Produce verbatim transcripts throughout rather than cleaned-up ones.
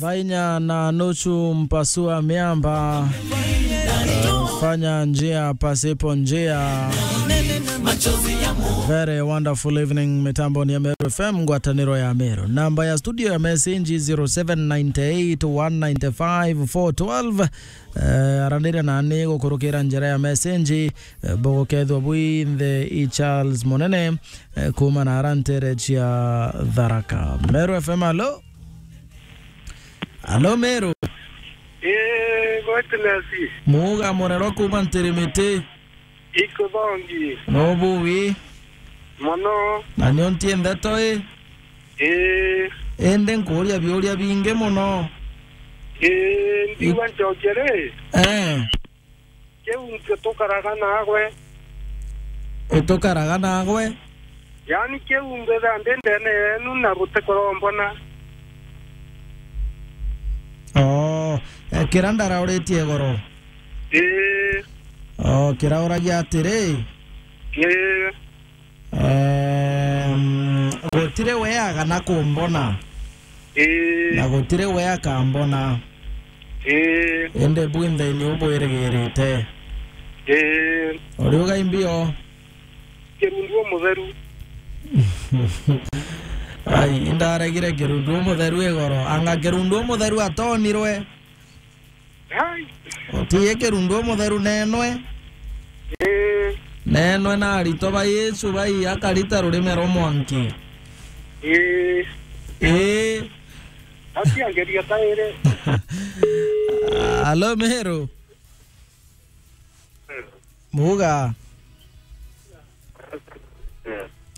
Vainya na nusu mpasua miamba. Uh, fanya njia pasipo njia. Very wonderful evening, mitambo ni ya Meru F M, ngwataniro ya Meru. Namba ya studio ya message zero seven nine eight one nine five four twelve. Eh, aranire nani gukurukira njira ya message, eh, bugukethwa bwinthe i Charles Munene, eh, kuma na ara ntere cia Tharaka. Meru F M, alo? Alo, Meru? Ii, gwetu nesi. Muuga murero kuma Ntirimiti. Ikuthongi. No buwi. Mono. Na nio nti ndeto i. Ii. Indi nkuuria biuria bingi mono. Ii, ndiuga ncokie ri? Eh. Kiu nkio tukaraga nagwe. Utukaraga nagwe? Yaani kiu mbitha ndi ndene yenu na butikorombona. Oh, eh, kira ndarauritie igoro? Ii. Oh, kirauragia atiri? Ii. Ehm, gutiri weaga na kumbona. Ii. Na gutiri we akambona. Ii. Indi bwinthe ni ubwirigirite. Ii. Uriuga imbio? Kirundu umutheru. Ai, indaregire kirundu umutheru igoro. Anga kirundu umutheru atonirwe? Ai. Utiye kirundu umutheru nenwe. Ii. Nenwe na aritwa ba Yesu bai akarita rurime rwa mwanki. Ii. Ii. Aciangeria kairi. Alo, Meru. Muga.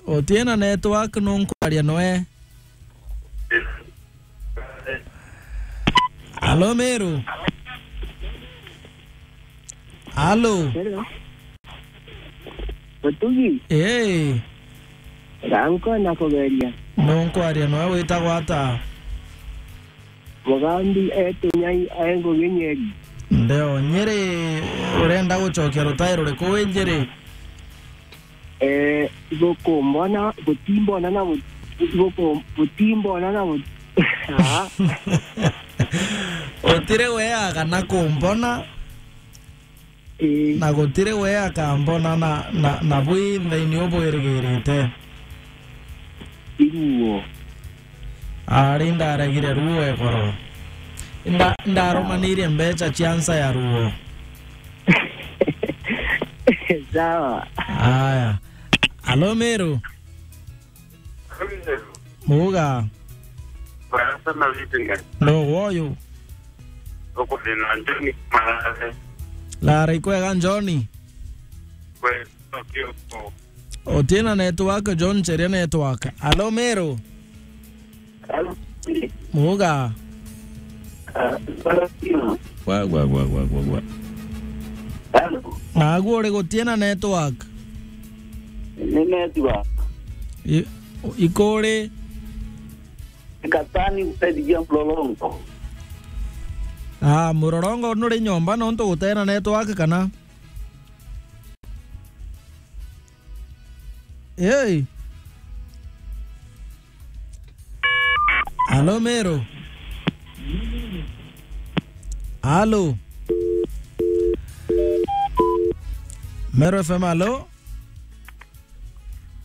Utie na network, nunkwaria noe. Alo, Meru. Alo. Hello. Mutugi. Hey. Ganko na kugeria. Nunkwaria noe, witagwa ata? Mugambi e Tunyai, e Ngugi Nyeri. Ndeo, Nyeri, urenda gucokia rutai ruriku wi Nyeri? Eh, bukumbona, butimbona na bu-, buku-, butimbona na bu-, ah. Utiri weaga na kumbona. Ii. Na gutiri we akambona na, na, na bwinthe ni ubwirigirite. Iruo. Ari ndaregire ruo igoro. Nda-, ndarumanirie mbeca cia nsa ya ruo. Sawa. Aya. Alo, Meru. Muga. Barasa na Litinga. No woyo. Uko na John Marare. Lara ikwega, John? Kwe, Tokyo. Utina network, John, cheria network. Alo, Meru. Alo. Muga. Ah, Tokyo. Gwa, gwa, gwa, gwa, gwa, gwa. Alo. Naguo uri gutina network? Ni network. I-, ikuri? Katani kusaidia Mlolongo. Ah, Mlolongo nuri nyomba nontu gutena network kana? Hey. Alo, Meru. Alo. Meru F M, alo?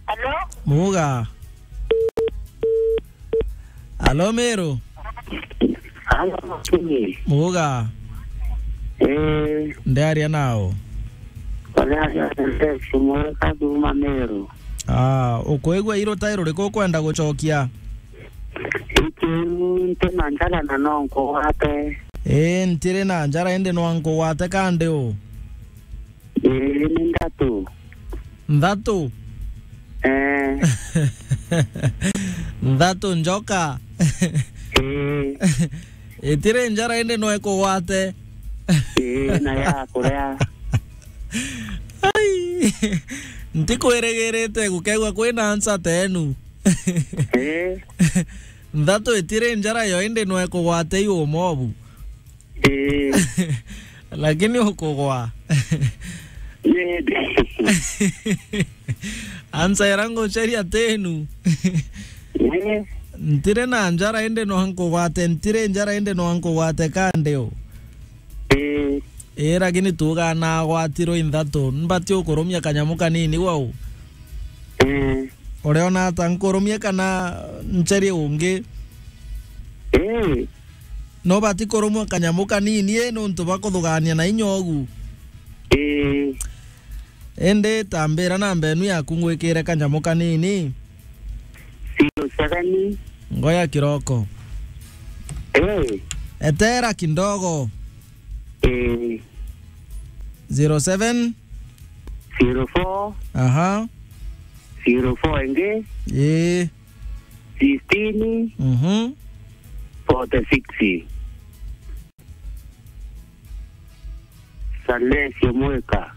Alo? Muga. Alo, Meru. Alo, Mutugi. Muga. Eh. Ndiaria nao. Ndiaria na Alex Mweka kuuma Meru. Ah, ukwigua irutai ruriku ukwenda gucokia? Ikiu nti na njara na no nkugwate. Ii, ntiri na njara indi no nkugwate kandi u? Ii, ni nthatu. Nthatu? Eh. Nthatu njoka? Ii. Itiri njara indi no ikugwate? Ii, na ya kuria. Ai. Ntikwirigirite gukegwa kwina ansa tenu. Ii. Nthatu itiri njara yo indi no ikugwate iu umobu. Ii. Lakini ukugwa. Ii. Ansa ira nguceria tenu. Ii. Ntire na njara indi no nkugwate, ntire njara indi no nkugwate kandi u. Ii. Ii, lakini tuugaa nagwatirwe inthatu, mbati ukurumia kanyamu kanini wau? Ii. Uriona ata, nkurumie kana ncherie ungi? Ii. No bati kurumwa kanyamu kanini, ii, nuntu bwa kuthugania na inya ugu. Ii. Indi tambira namba enu yaku ngwikire kanyamu kanini. Sio sagani. Ngoya kiroko. Ii. Etera kidogo. Ii. Zero seven. Zero four. Aha. Zero four ingi. Ii. Sixteen. Mhm. Forty-six. Salesio Mweka.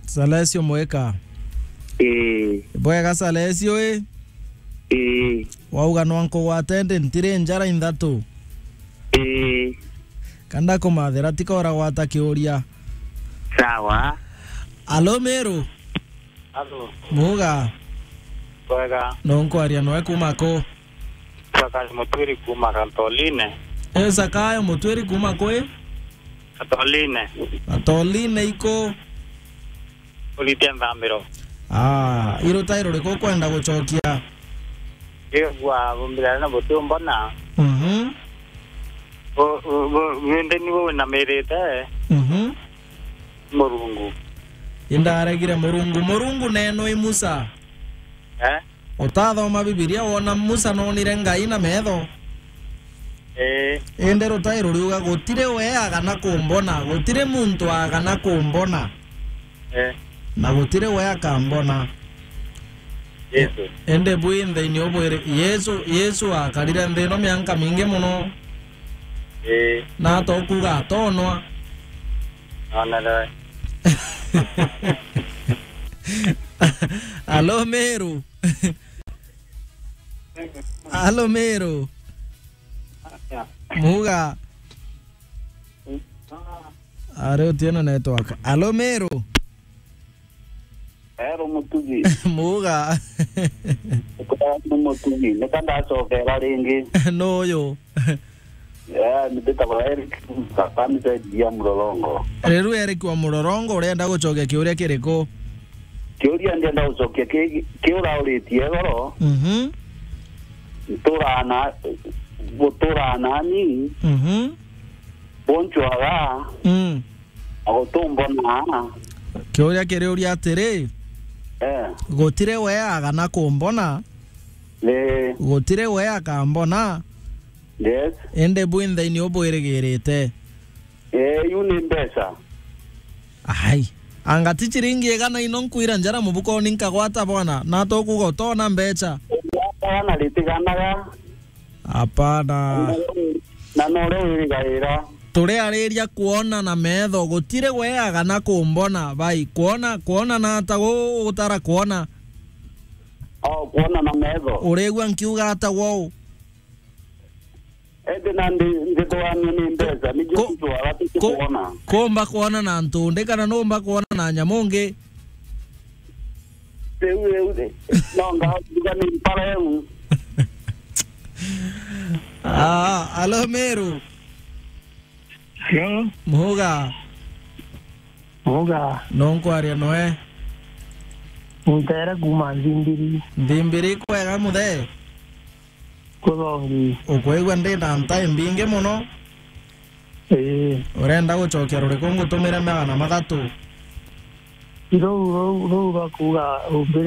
Salesio Mweka. Ii. Bwega Salesio, ii? Ii. Wauga no nkugwate ndi ntire njara inthatu? Ii. Kanda kumathira tika uragwata kiuria. Sawa. Alo Meru. Alo. Muga. Bwega. No nkwaria noe kuma ku? Zakayo Mutwiri kuma Gatholine. Eh, Zakayo Mutwiri kuma kwi? Gatholine. Gatholine iko? Uritie nthambiro. Ah, irutairo riku ukwenda gucokia? Igua bumbira na buti umbona. Mhm. Bu-, bu-, bu-, bundi ni bu winamirite. Mhm. Murungu. Indaregire Murungu. Murungu neno i Musa. Eh? Utathoma Bibilia wona Musa nonire Ngai na metho? Ee. Indi rutai ruriuga, "Gutiri we agana kumbona, gutiri muntu agana kumbona." Ee. Na gutiri we akambona. Yesu. Indi bwi nthini ubwire, Yesu, Yesu akarire nthi ino mianka mingi muno. Ee. Na atokuga atonwa. Onere. Alo, Meru. Alo, Meru. Muga. Ari utiena network. Alo, Meru. Ero Mutugi. Muga. Ukoragwo ni Mutugi. Nika ndacokera ringi. No uyu. Yeah, ni mbitagwa Eric Kapani saidi ya Murorongo. Riu Eric wa Murorongo, urenda gucokia kiuria kiriku? Kiuria ndienda gucokia ki, ki urauritie igoro. Mhm. Nturana, guturana ni. Mhm. Boncwaga. Mm. Na gutumbona. Kiuria kiri uria atiri, eh, gutire we agana kumbona. Eh. Gutire we akambona. Yes. Indi bwi nthaini ubwirigirite. Eh, iu ni mbeca. Ai. Anga ti ciringi igana ino nkwira njara mubukoni nkagwata bwana, na tukuga utona mbeca. Bwana ritiganaga. Hapana. Na no uria wirigaira. Turiariria kwona na metho, gutiri we agana kumbona, bai, kwona, kwona na ata gu-, gutara kwona? O, kwona na metho. Urigua nkiuga ata gwou? Indi na ndi, ndithugania ni mbeca, ni ku-, ku-, kwona. Kumba kwona na ntundi, kana numba kwona na nyamu ngi? Riu, riu, ri-, no ngauga ni mpara eu. Ah, alo Meru. Hello? Muga. Muga. No nkwaria noe? Ntere kuma Nthimbiri. Nthimbiri kwega muthe? Kuthongi. Ukwigua ndi na ntae mbingi muno? Ii. Urenda gucokia ruriku ngutumire magana mathatu? Ruu, ruu, ruu rwa kuuga umbire